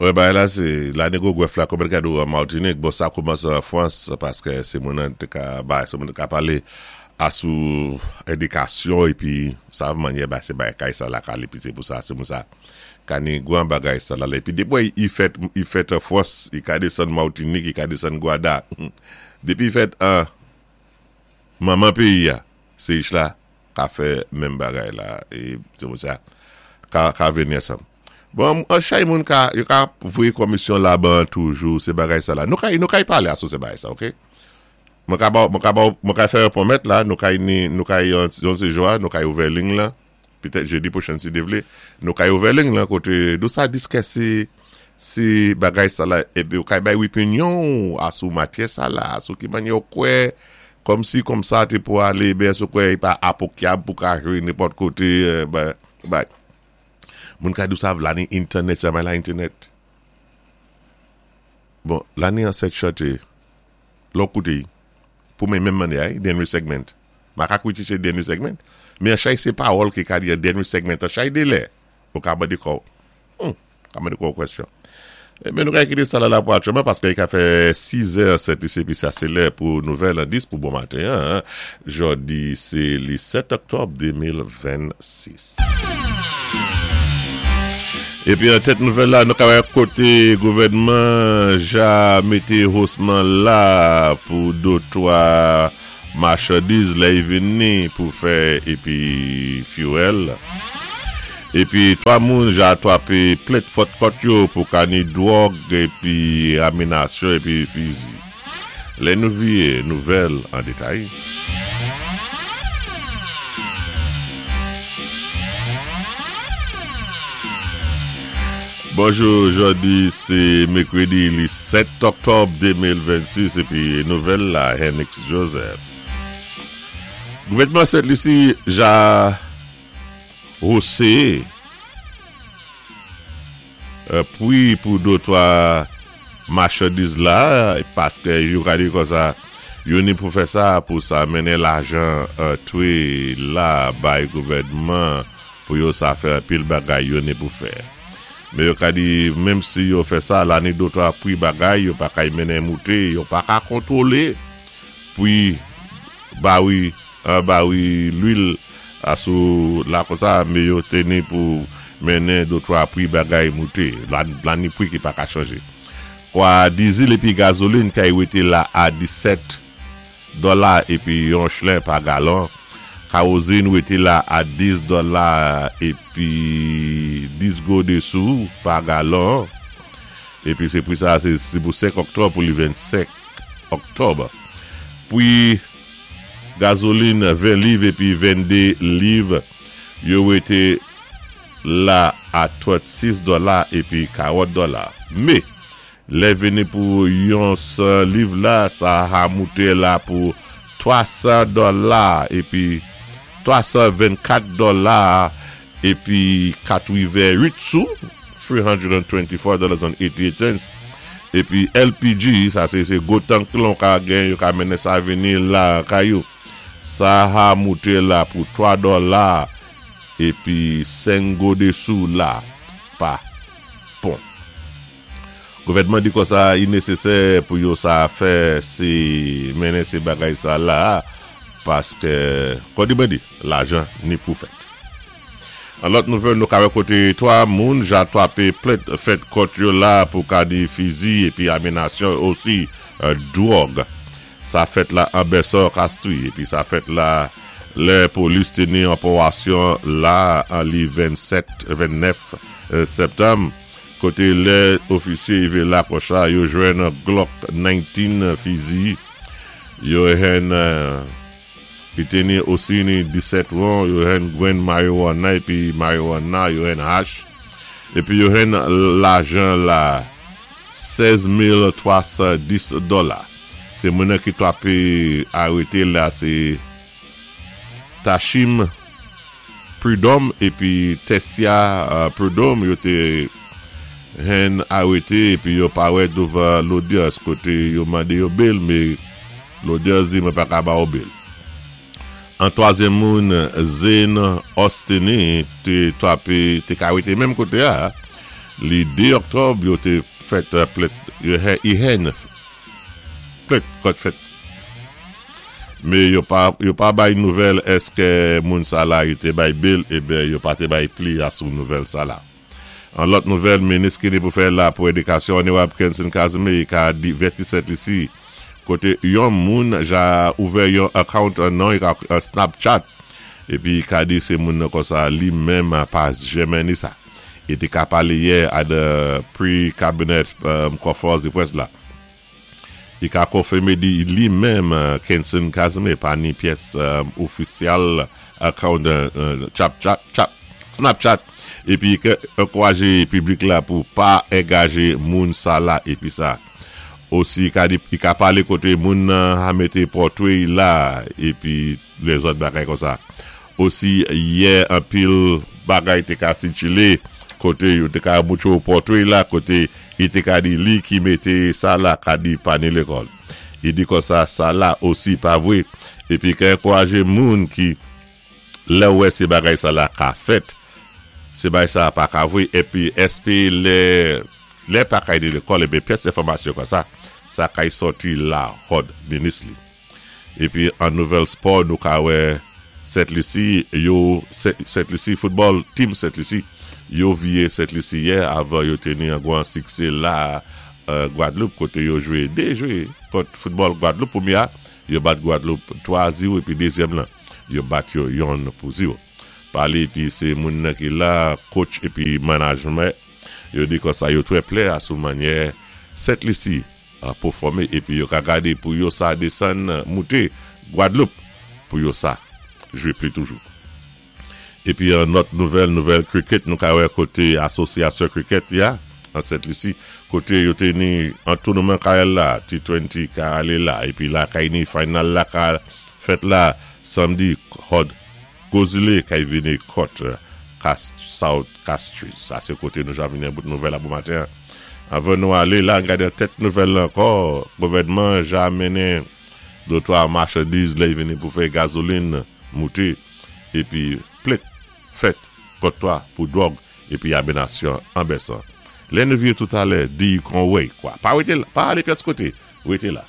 Wè bagay la se lane gwo gwèf la konbyen kado an Martinique bon sa koumanse an Frans paske se moun an te ka bay se moun te ka pale a sou endikasyon epi sa manyè ba se bay kay sa lakay li epi se pou sa se moun sa ka ni gwan bagay sa la epi depi wè i fèt i fèt an Frans i ka desann Martinique i ka desann Gwada depi i fèt an manman peyi a se ich la ka fè menm bagay la e se pou sa ka ka vini ansanm. Bon chay moun ka yo ka voye komisyon laban toujou se bagay sa la nou ka nou ka pale a sou se bagay sa ok mwen ka ba mwen ka ba mwen ka fè yon pwomèt la nou ka ni nou ka yon yon se jou a nou ka ouvè ling lan petèt jedi pwochen si Dye vle nou ka ouvè ling lan kote nou sa diskèse se bagay sa la epi ou ka bay opinyon ou a sou matyè sa la sou ki manyè ou kwè kòmsi kòmsa te pou ale ben sou kwè e pa apokyab pou ka jwe nenpòt kote ben bay. Moun ka di w sa lane entènèt sa bay la entènèt. Bon, lane an 7 chante, lè w koute y, pou mwen menm mande ay, dènye segment. Ma ka kritike dènye segment, men an chay se pawòl ki ka di an dènye segment an chay de lè. Ou ka mande kò w. Hum, ka mande kò w kwèsyon. Ebyen nou ka kite sa la la pou aktyèlman paske li ka fè 6 è 7 isi epi sa se lè pou nouvèl an 10 pou bon maten an. Jòdi se li 7 oktòb 2026. Epi an tèt nouvèl la nou ka wè kote gouvènman ja mete hosman la pou dotwa machandiz lè y vini pou fè epi fuel. Epi 3 moun ja twape plent fòt kòt yo pou kani dwòg epi aminasyon epi fizi. Lè nou vye nouvèl an detay. Bonjou jodi se mekredi li 7 oktòb 2026 epi nouvèl la Henix Joseph. Gouvènman Sent Lisi ja hose Pri pou dotwa machandiz la paske yo ka di konsa yo ni pou fè sa pou sa mennen lajan antre la bay gouvènman pou yo sa fè anpil bagay yo ni pou fè. Men yo ka di menm si yo fè sa la ni dotwa pri bagay yo pa kay mennen moute yo pa ka kontwole pri bari bari lwil a sou la konsa me yo te ni pou mennen dotwa pri bagay moute la ni pri ki pa ka chanje kwa dizil epi gazolin kay wete la a 17 dòla epi yon chlen pa galon kawozin wete la a 10 dòla epi 10 gode sou pa galon epi se pri sa se pou 5 oktòb pou li 25 oktòb pri Gazolin 20 liv epi 22 liv yo wete la a 36 dòla epi 40 dòla. Me, lè vini pou yon 100 liv la, sa ha moute la pou 300 dòla epi 324 dòla epi 88 sou, 324 dollars and 88 cents, epi LPG, sa se se gwo tank lan ou ka gen, yo ka mennen sa vini la kay ou. Sa ha moute la pou 3 dòla epi 5 gode sou la pa pon. Gouvènman di konsa i nesesè pou yo sa fè se mennen se bagay sa la paske kòdi mwen di lajan ni pou fèt. An lòt nouvèl nou ka wè kote 3 moun ja twape plent fèt kont yo la pou kadi fizi epi aminasyon osi dwòg. Sa fèt la an Bèsò Kastri epi sa fèt la lè polis te ni anpowasyon la an li 27 29 septanm kote lè ofisye rive la konsa yo jwenn Glock 19 fizi yo henn Li te ni osi ni 17 won, yo henn grenn mariwana epi mariwana, yo henn hach, epi yo henn lajan la 16,310 dola. Se moun nan ki twape arete la se Tachim Prudhomme epi Tessia Prudhomme yo te henn arete epi yo parèt douvan lodyans kote yo mande yo bail me Lodyans di mwen pa ka ba ou bail. An twazyèm moun Zane Austiny te twape te ka rete menm kote a. Li 2 oktòb yo té fèt plent yo plent kont fèt mé yo pa yo pa bay nouvèl èskè moun sa la yo té bay bail eben yo pa té bay pli asou nouvèl sa la. An lòt nouvèl minis ki ni pou fè la pou édikasyon Onorab Kenson Casimir ka divèti Sent Lisi koté yon moun ja ouvè yon account nan Snapchat épi ka di sé moun nan konsa li menm pa jèmè ni sa. E te ka pale yè a the pre-cabinet konferans de près la. Li ka konfime di li menm Kenson Casimir pa ni pyès ofisyal account chat Snapchat epi ke ankouraje piblik la pou pa engaje moun sa la epi sa. Osi ka di li ka pale kote moun nan a mete pòtwe la epi lèzòt bagay konsa. Osi yè anpil bagay te ka sikile kote yo te ka moutre w pòtre la kote li te ka di li ki mete sa la ka di pa ni lekòl. Li di konsa sa la osi pa vwe epi ka ankouraje moun ki lè w wè se bagay sa la ka fèt se bagay sa pa ka vwe epi èske lè lè pa kay ni lekòl epi pyès enfòmasyon konsa sa kay sòti la hòd minis li. Epi an nouvèl spò nou ka wè Sent Lisi yo Sent Lisi foutbòl team Sent Lisi yo viye Sent Lisi yè avan yo te ni an gwan siksé la Gwadloup kote yo jwe 2 jwe kont foutbòl Gwadloup premye a yo bat Gwadloup 3 a 0 epi dezyèm lan yo bat yo yonn pou 0 pale epi se moun nan ki la coach epi manajmè yo di konsa yo trè plè a sou manyè Sent Lisi pofòme epi yo ka gade pou yo sa desann moute Gwadloup pou yo sa jwe pli toujou. Epi an nòt nouvèl nouvèl cricket nou ka wè kote asosyasyon cricket ya an Sent Lisi kote yo te ni an tounouman ka la T20 ka ale la epi la kay ni final la ka fèt la samdi hòd Gozile kay vini kòt kas South Castries. Sa se kote nou jan vini an bout nouvèl a bon maten an. Anvan nou ale la, gade tèt nouvèl la ankò, gouvènman ja mennen dotwa machandiz lè vini pou fè gazolin moute epi plent fèt kont 3 pou dwòg epi abinasyon anbèsan. Lè nou vire toutalè, di kon wey kwa. Pa wete la, pa ale pyès kote, rete la.